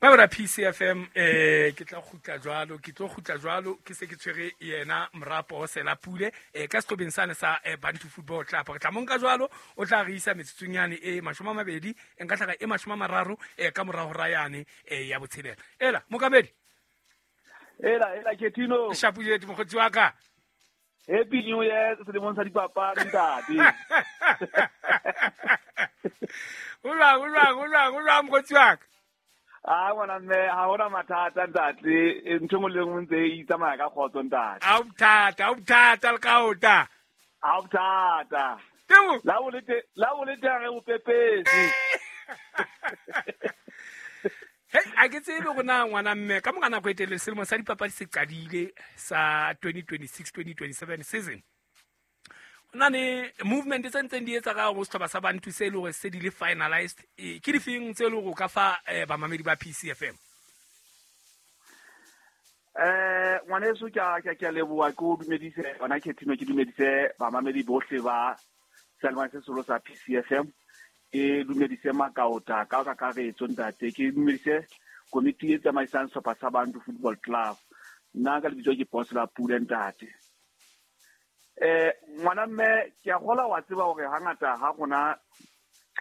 Mabra PCFM ke tla kgutla jwalo, ke tlo kgutla jwalo, ke se ke tshwere yena Morapo Sela Pule ka sehlobeng sane sa Bantu Football Club. Re tla monka jwalo, o tla re isa metsotsong yane e 20, e nka tlhaga e 30 ka mora hora yane ya botshelela. Ela mokamedi. Ela ela Ketino. Shapu jetu mokgotsi wa ka. Happy New Year selemong sa dipapadi ntate. O jwang, o jwang, o jwang, o jwang mokgotsi wa ka? A ngwana mme, ha hona mathata ntate, ntho e nngwe le nngwe ntse e tsamaya ka kgotso ntate. Ha o bothata, ha o bothata le ka ota. Ha o bothata. Temo. La o le te, la o le teng re o pepetse. Hey, a ke tsebe go na ngwana mme ka mora nako e telele selemo sa dipapadi se qadile sa 2026-2027 season. Ho na le movement tse ntseng di etsa ka ho sehlopha sa Bantu se e le hore se di le finalized. Ke difeng tse e le hore o ka fa bamamedi ba PCFM? Ngwaneso, ke a ke a leboha, ke o dumedise yona Ketino, ke dumedise bamamedi bohle ba seyalemoya se seholo sa PCFM. Ke dumedise makaota ka kakaretso ntate, ke dumedise komiti e tsamaisang sehlopha sa Bantu Football Club. Nna ka lebitso ke Boss la Pule ntate. Ngwana mme, ke a kgola wa tseba hore hangata ha rona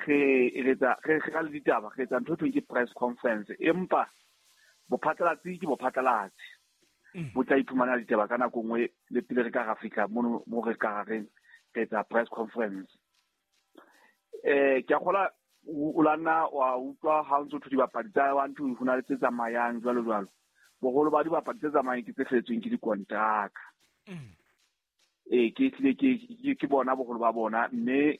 re eletsa, re re le ditaba, re etsa ntho e thweng ke press conference, empa bophatlalatsi ke bophatlalatsi. Bo tla iphumana ditaba ka nako nngwe le pele re ka ra fihla mono mo re ka reng re etsa press conference. Ke a kgola o la nna wa utlwa ha o ntso thwe dibapadi tsa Bantu ho na le tse tsamayang jwalo jwalo. Boholo ba dibapadi tse tsamayang ke tse felletsweng ke dikontraka. Ke hlile ke bona boholo ba bona, mme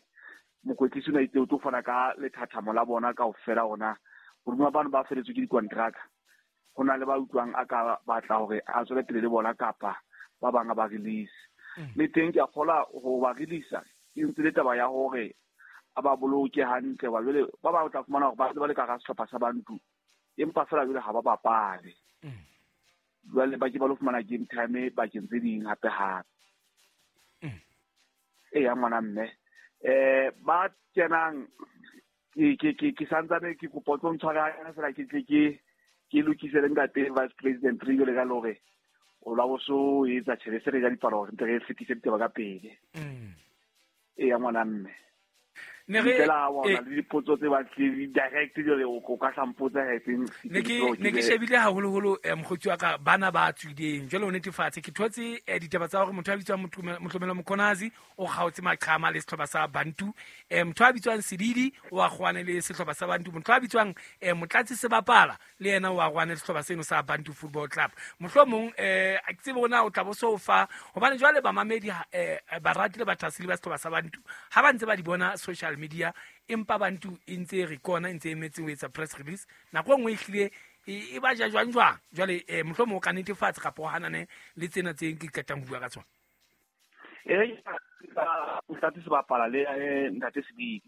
mokwetlisi o na itse o tlo fana ka lethathamo la bona kaofela hona. Hodima bano ba felletswe ke dikontraka, ho na le ba utlwang a ka batla hore a tswele pele le bona kapa ba bang a ba release. Le teng ke a kgola ho ba release, e ntse le taba ya hore a ba boloke hantle, wa jwale ba bang o tla fumana hore ba ntse ba le ka hara sehlopha sa Bantu, empa feela jwale ha ba bapale. Jwale ba ke ba lo fumana game time bakeng tse ding hape hape. Eya ngwana mme. Ba kenang ke santsane ke kopa o tlo ntshwara hanyane feela ke tle ke lokise le ntate Vice President re jwale ka le hore o la bo so etsa tjhelete se re ja dipalo hore ntse re fetise ditaba ka pele. Eya ngwana mme. Ne re Fela wa ona le dipotso tse batlile direct jwale o ka hlampotsa ha etseng Ne ke shebile haholoholo, mokgotsi wa ka bana ba tswileng. Jwale o netefatse ke thotse ditaba tsa hore motho a bitswang Motlomelo Mkhonazi o kgaotse maqhama le sehlopha sa Bantu. Motho a bitswang Sedidi o a kgwane le sehlopha sa Bantu. Motho a bitswang Motlatsi Sebapala le yena o a kgwane le sehlopha seno sa Bantu Football Club. Mohlomong a ke tsebe hore na o tla bo so fa, hobane jwale bamamedi barati le bathaseli ba sehlopha sa Bantu ha ba ntse ba di bona social media, empa Bantu e ntse re kona, e ntse e emetse ho etsa press release. Nako e nngwe e hlile e ba ja jwang jwang. Jwale mohlomong o ka netefatsa kapa o hanane le tsena tse ke qetang ho bua ka tsona. Ntate Sebapala le ntate Sedidi.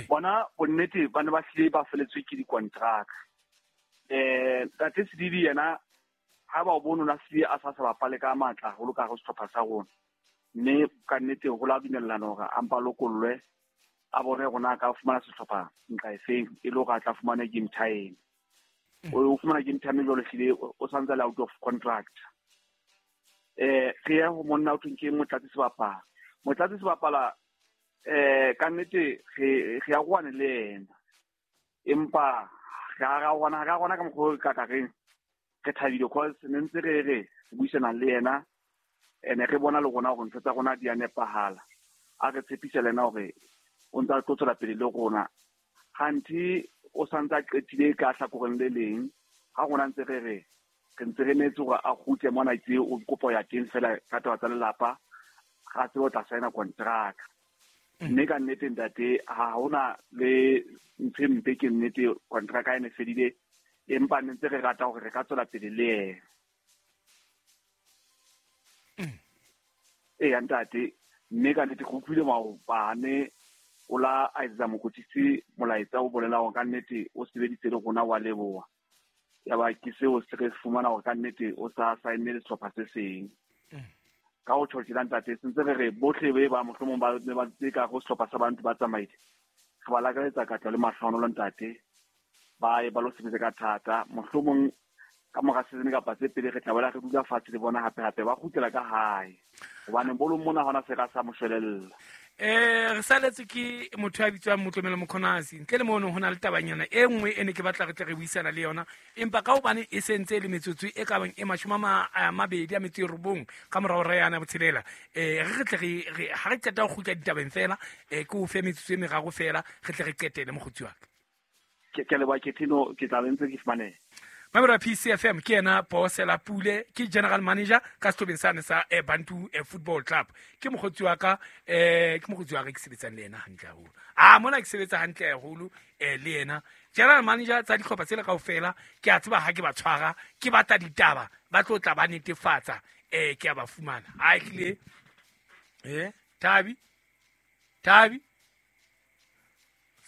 Bona bonnete ba ne ba hlile ba feletswe ke dikontraka. Ntate Sedidi yena ha ba o bone o na hlile a sa sa bapale ka matla haholo ka hare ho sehlopha sa rona. Mme ka nnete ho la dumellana hore a mpa lokollwe, a bone hore na a ka fumana sehlopha nqa efeng e le hore a tla fumana game time. O fumana game time jwalo hlile o santse a le out of contract. Re ya ho monna o thweng ke Motlatsi Sebapala. Motlatsi Sebapala, ka nnete re ya kwane le yena. Empa re a rwana ka mokgwa o ka ka reng re thabile cause ne ntse re re buisana le yena, ene re bona le rona hore ntho tsa rona di a nepahala. A re tshepisa le yena hore o ntse a tlo tswela pele le rona. Kganthe o santse a qetile ka hlakoreng le leng, ha rona ntse re re re ntse re emetse hore a kgutle mona ke o kopo ya teng fela ka taba tsa lelapa, ga tsebe o tla signa kontraka. Mme ka nnete ntate, ha hona le ntho e mpe, ke nnete kontraka e ne fedile, empa ne ntse re rata hore re ka tswela pele le yena. Eya ntate, mme ka nnete ke utlwile maobane o la a etsetsa mokwetlisi molaetsa o bolela hore ka nnete o sebeditse le rona, wa leboha. Ya ba ke seo se re fumana hore ka nnete o sa saenne le sehlopha se seng. Ka ho tjho tjena ntate, se ntse re re bohle be ba mohlomong ba ne ba ntse ka ho sehlopha sa Bantu ba tsamaile. Re ba lakaletsa katleho le mahlohonolo ntate. Ba ye ba lo sebetsa ka thata. Mohlomong ka mora season kapa tse pedi re tla boela re dula fatshe le bona hape hape ba kgutlela ka hae. Hobane bolong mona hona se ka sa mo shwelella. Re saletse ke motho ya bitswang Motlomelo Mokgonasi. Ntle le mono ho na le tabanyana e nngwe e ne ke batla re tle re buisana le yona, empa ka hobane e sentse le metsotso e ka bang e 29 ka morao hora yana botshelela, re tle re ha re qeta ho kgutla ditabeng fela, ke o fe metsotso e meraro fela re tle re qetele mokgotsi wa ka. Ke leboha Ketino, ke tla be ntse ke fumaneha. Mamelo ya PCFM ke yena Bosela Pule, ke general manager ka sehlobeng sane sa Bantu Football Club. Ke mokgotsi wa ka, ke mokgotsi wa ka ke sebetsang le yena hantle haholo. A mona ke sebetsa hantle haholo le yena. General manager tsa dihlopha tsela kaofela, ke a tseba ha ke ba tshwara, ke batla ditaba, ba tlo tla ba netefatsa, ke a ba fumana. A ehlile, Thabi, Thabi.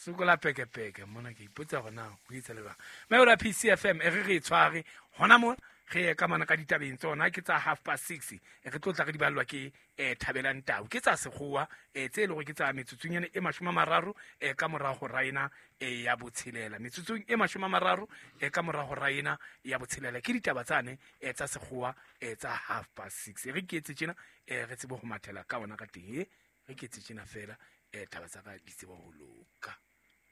Sokola peke-peke mona ke ipotsa hore na ho etsa le jwang. Mme ora PCFM e re re tshware hona mona re ye ka mona ka ditabeng tsona ke tsa 6:30 re tlo tla re di ballwa ke Thabelang Tau. Ke tsa sekgowa tse leng hore ke tsa metsotsonyana e 30 ka mora hora ena ya botshelela. Metsotsong e 30 ka mora hora ena ya botshelela ke ditaba tsane tsa sekgowa tsa 6:30. Re ke etse tjena re tsebe ho mathela ka ona ka teng. Re ke etse tjena fela taba tsa ka di tsebe ho loka.